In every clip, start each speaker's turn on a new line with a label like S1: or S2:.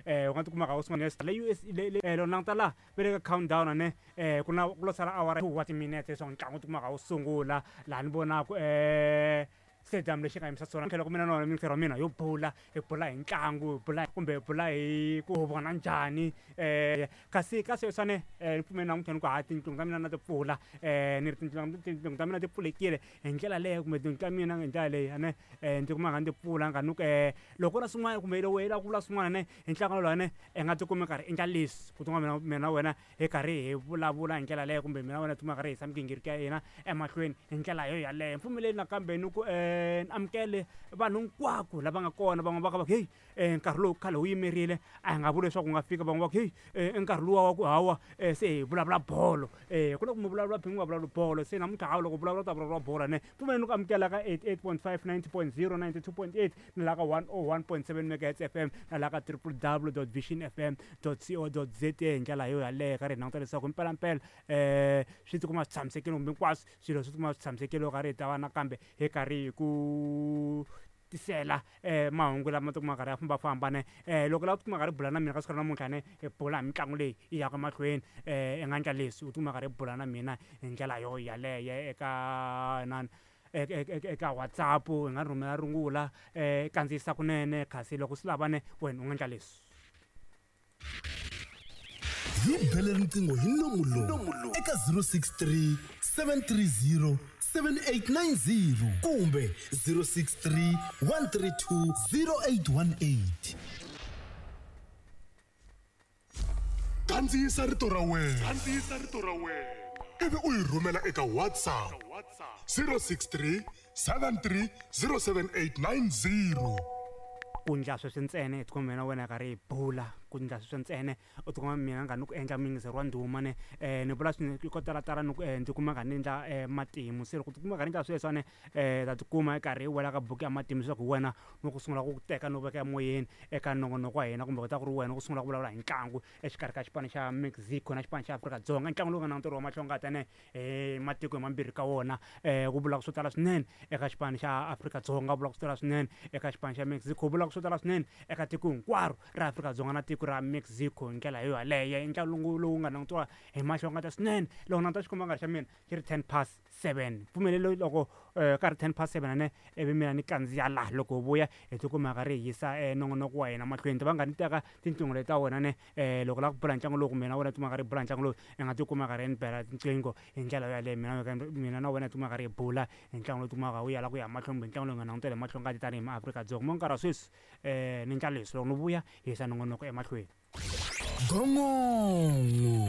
S1: U nga tikuma ka u sungula le US le loko languta laha va le ka countdown ane ku na ku lo sala awara 2 wa timinete leswaku ntlangu wu tikuma ka wu sungula laha ni vonaku stadium lexi nga yimisa swona tlhela ku mina na wena mintirho ya mina yo bula hi bula hi ntlangu hi bula kumbe hi bula hi ku vona njhani kasi ka sweswiwani ni pfumeli namuntlha ni ku ha tinqingho ta mina na ti pfula ni ri tinqingho ta mina ti pfulekile hi ndlela leyo kumbe tinqingho ta mina hi ndlela leyi ane ndzi kuma nga ndzi pfula nga ni ku loko na swin'wana kumbe loko i lava ku vula swin'wana ne hi ntlangu lowu ne i nga tikumi karhi endla leswi ku tikuma mina mina wena hi karhi hi vulavula hi ndlela leyo kumbe mina wena tikuma karhi hi yisa migingiriko ya hina emahlweni hi ndlela yo yaleyo. Mpfumeleli nakambe ni ku ni amukele vanhu hinkwako lava nga kona van'wana va ka va ku heyi nkarhi lowu khale wu yimerile a hi nga vuli leswaku wu nga fika van'wana va ku heyi i nkarhi luwa wa ku hawa se hi vulavula bolo ku na ku mi vulavula mi nga vulavuli bolo se namuntlha hawa loko vulavula u ta vulavula bolo ne pfumeleni ku amukela ka 88.5 90.0 92.8 na la ka 101.7 megahertz FM na la ka www.visionfm co za hi ndlela yo yaleyo ka ri hi languta leswaku mpelampela swi tikuma swi tshamisekile kumbe hinkwaswo swilo swi tikuma swi tshamisekile loko ka ri hi ta va nakambe hi karhi hi ku tisela mahungu lama tikuma karhi ya fambafamba ne loko la tikuma karhi bula na mina ka siku ra namuntlha ne hi bula hi mitlangu leyi yi yaka mahlweni i nga endla leswi u tikuma karhi bula na mina hi ndlela yo yaleyo eka nani eka WhatsApp i nga rhumela rungula kandziyisa kunene kasi loko swi lava ne wena u nga endla leswi.
S2: Hi bele riqingho hi nomu lowu eka 063 730 7890 kumbe 063 132 0818.
S3: Kandziyisa rito ra wena. Kandziyisa rito ra wena. Ivi u yi rhumela eka WhatsApp 063 73 07890.
S1: Ku ndla sweswi ntsena hi tikuma mina wena karhi hi bula ku ndla sweswi ntsena u tikuma mina nga ni ku endla muyingiseri wa ndhuma ne ni vula swinene ko talatala ni ku ndzi kuma karhi ni endla matimu se loko tikuma karhi endla sweswiwani ta tikuma i karhi i wela ka buku ya matimu leswaku hi wena no ku sungula ku teka no veka emoyeni eka nongonoko wa hina kumbe ku ta ku ri wena ku sungula ku vulavula hi ntlangu exikarhi ka xipano xa Mexico na xipano xa Afrika-Dzonga ntlangu lowu nga na ntirho wa mahlongata ne hi matiko hi mambirhi ka wona ku vulaka swo tala swinene eka xipano xa Afrika-Dzonga vulaka swo tala swinene eka xipano xa Mexico vulaka swo tala swinene eka tiko hinkwaro ra Afrika-Dzonga na tiko ra Mexico hi ndlela yo yaleyo i ntlangu lowu nga langutiwa hi mahlongata swinene loko languta xikomba xa mina xi ri 7:10 pfumelelo loko ka ri 7:10 ane ivi mina ni kandziya laha loko hi vuya hi tikuma ri hi yisa nongonoko wa hina mahlweni ti va nga ni teka tinqingho leti ta wena ne loko la ku bula ntlangu lowu kumbe na wena tikuma karhi bula ntlangu lowu i nga tikuma karhi ni bela tinqingho hi ndlela yaleyo mina mina na wena tikuma karhi hi bula hi ntlangu lowu tikumaka wu ya la ku ya mahlweni kumbe ntlangu lowu nga langutela hi mahlo ngati tanihi maAfrika-Dzonga mo nkarhi wa sweswi ni ndla leswi loko ni vuya hi yisa nongonoko emahlweni.
S2: Gongongo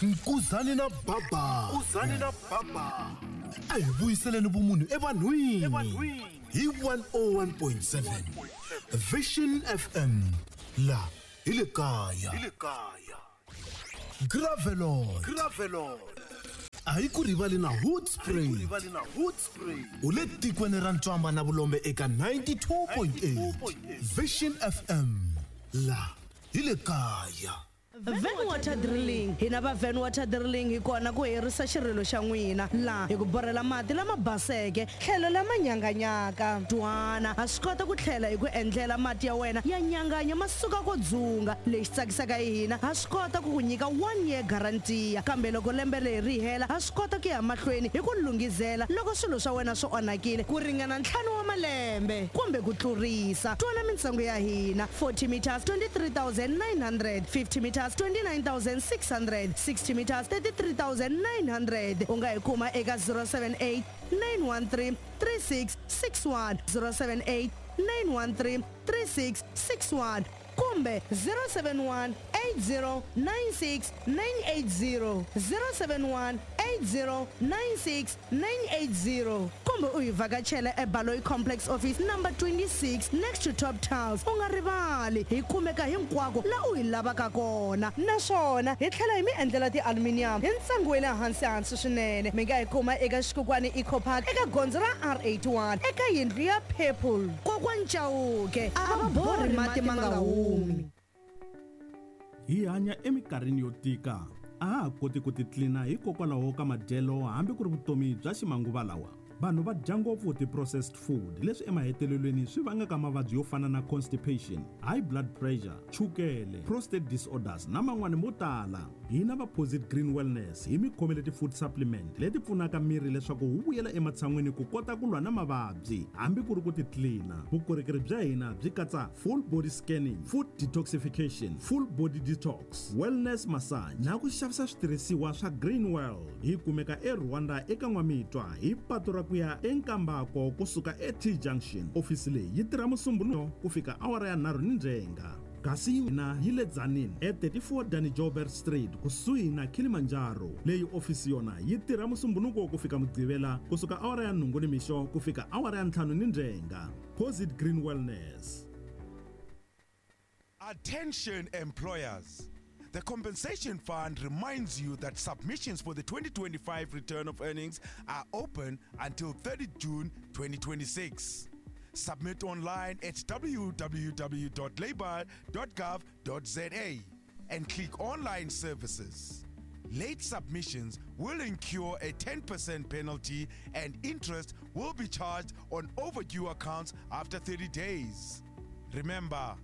S2: Nkuzani na Baba
S3: Nkuzani na Baba
S2: a hi vuyiseleni vumunhu evanhwini hi 101.7 Vision FM la hi le kaya
S3: hi le kaya
S2: Gravelot
S3: Gravelot
S2: a hi ku rivali na Hoedspruit
S3: rivali na Hoedspruit
S2: u le tikweni ra ntswamba na vulombe eka 92.8 Vision FM la hi le kaya.
S4: Van Water Drilling. Hina va Van Water Drilling hi kona ku herisa xirilo xa n'wina laha hi ku borhela mati lama baseke tlhelo lama nyanganyaka. Twana, ha swi kota ku tlhela hi ku endlela mati ya wena ya nyanganya ma suka ko dzunga. Lexi tsakisaka hi hina, ha swi kota ku ku nyika one year guarantee kambe loko lembe leri ri hela ha swi kota ku ya mahlweni hi ku lunghizela loko swilo swa wena swi onhakile ku ringana ntlhanu wa malembe kumbe ku tlurisa. Twana mintsengo ya hina 40 meters 23900, 50 meters 29600, 60 meters 33900. U nga hi kuma eka 078 913 3661, 078 913 3661 kumbe 071 8096 980, 071 8096 980 kumbe u hi vhakachela eBaloyi Complex Office number 26 next to Top Tiles. U nga rivali hi kumeka hinkwako la u hi lavaka kona naswona hi tlhela hi mi endlela ti-aluminium hi ntsengo wa le hansi hansi swinene. Mi nga hi kuma eka Xikukwani Eco Park eka gondzo ra R81 eka yindlu ya Purple. Kokwani Chauke a va borhi mati ma nga humi.
S5: Hi hanya eminkarhini yo tika, a ha ha koti ku titlina hikokwalaho ka madyelo hambi ku ri vutomi bya ximanguva lawa. Vanhu va dya ngopfu ti-processed food leswi emahetelelweni swi vangaka mavabyi yo fana na constipation, high blood pressure, chukele, prostate disorders na man'wani mo tala. Hina va Posit Green Wellness hi mi khomele ti-food supplement leti pfunaka miri leswaku wu vuyela ematshan'wini ku kota ku lwa na mavabyi hambi ku ri ku titlina. Vukorhokeri bya hina byi katsa full body scanning, food detoxification, full body detox, wellness massage na ku xavisa switirhisiwa swa Green World. Hi kumeka eRwanda eka N'wamitwa hi patu ra ku ya eNkambako kusuka eT Junction. Ofisi leyi yi tirha Musumbhunuko ku fika awara ya 3 ni ndzhenga. Kasi yina yi le Tzaneen e 34 Danny Joubert Street kusuhi na Kilimanjaro. Leyi ofisi yona yi tirha Musumbhunuko ku fika Mugqivela kusuka awara ya 8 nimixo ku fika awara ya 5 ni ndzhenga. Posit Green Wellness.
S6: Attention employers. The Compensation Fund reminds you that submissions for the 2025 return of earnings are open until 30 June 2026. Submit online at www.labour.gov.za and click Online Services. Late submissions will incur a 10% penalty and interest will be charged on overdue accounts after 30 days. Remember,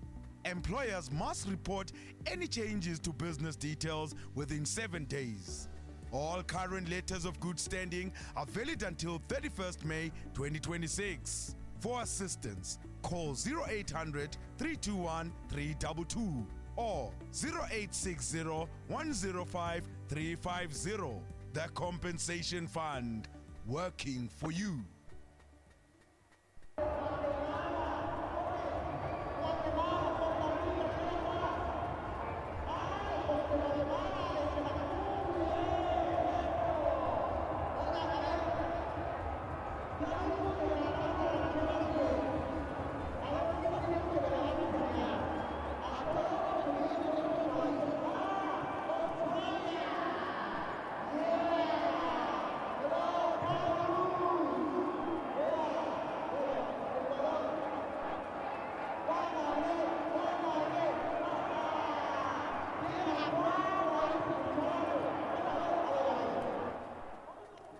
S6: employers must report any changes to business details within 7 days. All current letters of good standing are valid until 31st May 2026. For assistance, call 0800 321 322 or 0860 105 350. The Compensation Fund, working for you.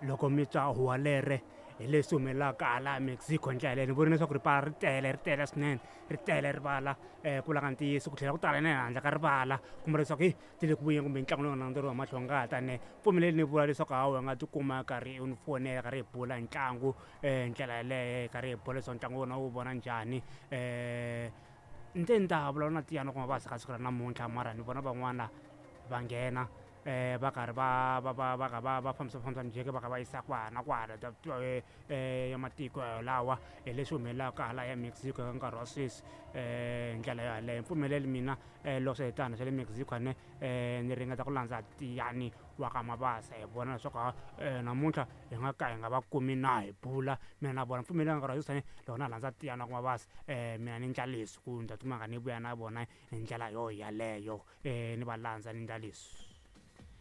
S1: Loko mi twa huwa lere hi leswi humelelaka hala Mexico ndlela yaleyo ni vona leswaku rivala ri tele, ri tele swinene, ri tele rivala ku langa ntiyiso ku tlhela ku tala na handle ka rivala kumbe leswaku hi ti le ku vuyeni kumbe ntlangu lowu nga landzeriwa hi mahlo ngati ne pfumeleli ni vula leswaku hawa u nga tikuma karhi u ni fonela karhi hi bula ntlangu ndlela yaleyo karhi hi bula leswaku ntlangu wona wu vona njhani. Ni te ni ta vulavula na Tiyani kuma va ka siku ra namuntlha mara ni vona van'wana va nghena va karhi va va va va va va fambisa fambisa mijeke va kha va yisa kwala na kwala ya matiko lawa hi leswi humelelaka hala ya Mexico eka nkarhi wa sweswi hi ndlela yaleyo. Mpfumeleli mina loko swi tano swa le Mexico ne ni ringeta ku landza Tiyani wa ka Mabasa hi vona leswaku namuntlha hi nga ka hi nga va kumi na hi bula mina na vona. Mpfumeleli nkarhi wa sweswi loko na landza Tiyani wa ka Mabasa mina ni endla leswi ku ni ta tikuma nga ni vuya na vona hi ndlela yo yaleyo ni va landza ni endla leswi.